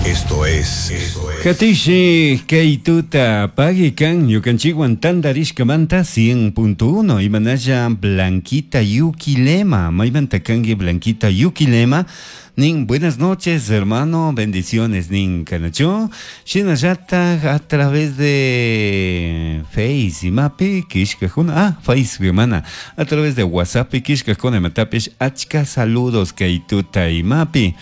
Esto es. Katishi kay tuta pagui kan ñukanchikwan tantarishkamanta 100.1 imanalla Blanquita Yuquilema maymanta kanki Blanquita Yuquilema nin buenas noches hermano bendiciones nin kanachu shinallataj a través de Face imapi kishkakuna ah Facebook mana a través de WhatsApp kishkakuna imatapish achka saludos kay tuta imapi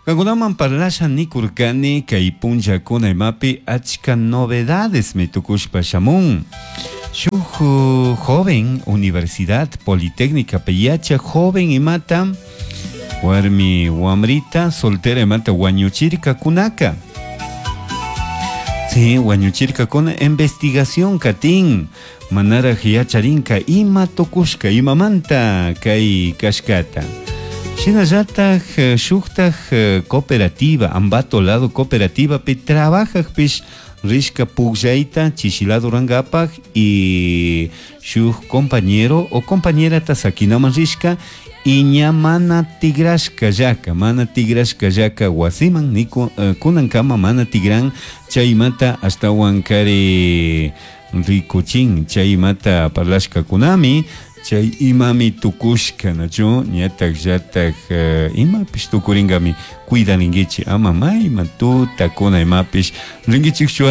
Kankunaman parlasha nikurkani kay punllakuna imapi achka novedades mi tukushpa shamun. Shuk joven Universidad Politécnica yacha joven imata warmi wamrita soltera imata wañuchirkakunaka. Sí, wañuchirkakuna investigación katin manaraj yacharinka ima tukushka imamanta kay kashkata. Shinallataj shuktaj cooperativa Ambato lado cooperativa pi trabajajpish rishka pukllayta chishilado rurankapak y shuk compañero o compañerata sakinaman rishka y ña mana tigrashka llaka mana tigrashka llaka wasiman ni kunankama mana tigran chaymanta ashtawan kari rikuchin chaymata parlashkakunami chay imami tukushka nachu ñatak llatak imapish tukuringami cuidarinkichik ama mayman tutakuna imapish rinkichikchu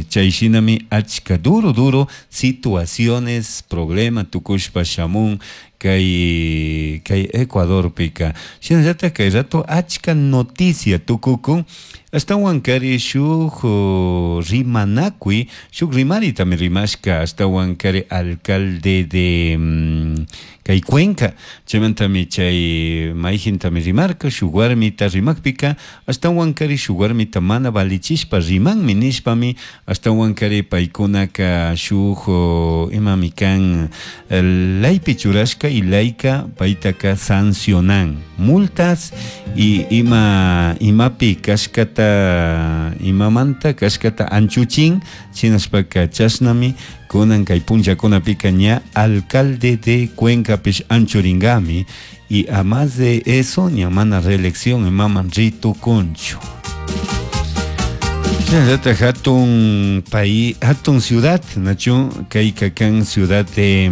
chay shinami achka duro duro situaciones problema tukushpa shamun kay kay Ecuadorpika shinallatak kay rato achka noticia tukukun ashtawan kari shuk rimanakuy shuk rimaritami rimashka ashtawan kari alcalde de kay Cuenca chaymantami chay mayjintami rimarka shuk warmita rimakpika ashtawan kari shuk warmita mana valichishpa rimanmi nishpami ashtawan kari paykunaka shuk imami kan laypi churashka y layka paytaka sancionan multas y ima imapi kashkata imamanta kashkata anchuchin shinashpaka chashnami kunan kay punllakunapika ña alcalde de Cuencapish anchuringami y a más de eso ña mana reelección imaman ritukunchu. Shinallatak hatun país hatun ciudad nachu kayka kan ciudad de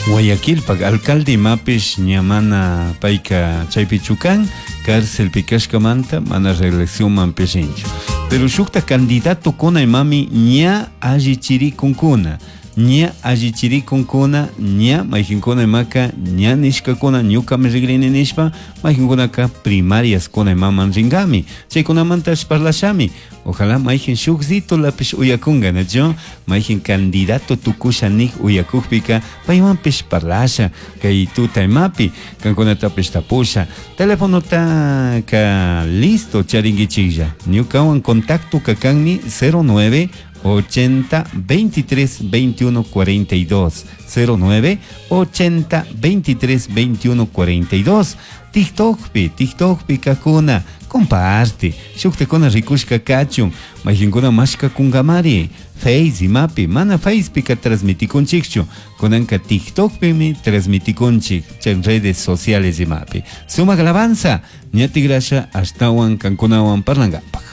Guayaquilpak alcalde imapish ña mana payka chaypichu kan cárcelpi kashkamanta mana reeleccionmanpish rinchu pero shukta candidatokuna imami ña allichirikunkuna ña allichirikunkuna ña mayjinkuna imaka ña nishkakuna ñukami rigrini nishpa mayjinkunaka primariaskuna imaman rinkami chaykunamantash parlashami ojalá mayjin shukzitulapish uyakunka nachu mayjin candidato tukusha nik uyakukpika paywanpish parlasha kay tuta imapi kankunatapish tapusha telefonotaka listo charinkichiklla ñukawan contacto kakanmi 09 80 23 21 42 09 80 23 21 42 TikTokpi TikTokpi kakuna comparte shuktakuna rikushka kachun mayjinkuna mashkakunkamari Face imapi mana Facepika transmitikunchikchu kunanka TikTokpimi transmitikunchik chay redes sociales imapi sumak alabanza ña tigrasha ashtawan kankunawan parlankapak.